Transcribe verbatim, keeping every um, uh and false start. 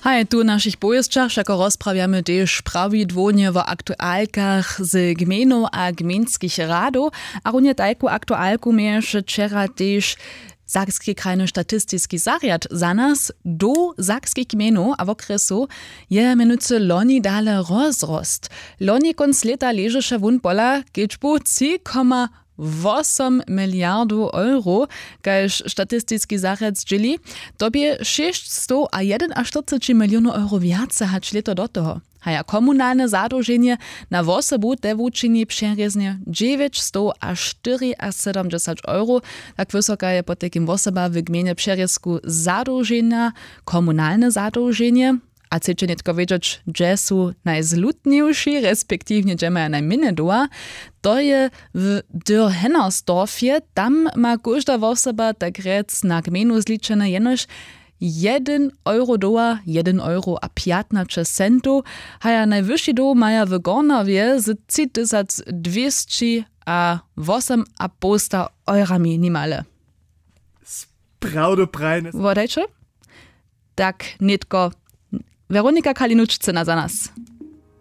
A je tu w našich powěsćach wšako rozprawjamy tež prawidłownje wo aktualkach z gmejnow a gmejnskich radow. A runje tajku aktualku měješe wčera tež sakski krajny statistiski zarjad za nas do sakskich gmejnow a wokrjesow je mjenujcy loni dale rozrost. Loni kónc lěta ležeše wón pola kedźbu tři koma wosom miliardow euro, kaž statistiski zarjad zdźěli. To bě šěsćstow a jedynaštyrceći milionow euro wjace hač lěto do toho. Haja komunalne zadołženje na wosobu te wučini přerěznje dźewjećstow a štyriasydomdźesać euro. Tak wysoka je potajkim wosoba w gmejnje přerězku zadołženja. Komunalne zadołženje a chceće nětko wědźeć hdźe su najzlutniwši respektiwnje hdźe maja najmjenje doła, to je w dürr hennersdorfje. Tam ma kóžda wosoba tak rjec na gmejnu zličene jenož jedyn euro doła, jedyn euro a pjatnaće centow. Haja najwyši doł maja w gornawje z tři tysac dwěsći a wosym a połsta eurami nimale. Prawdoprajne. Wodajće tak nětko. Weronika kalinučcyna za nas.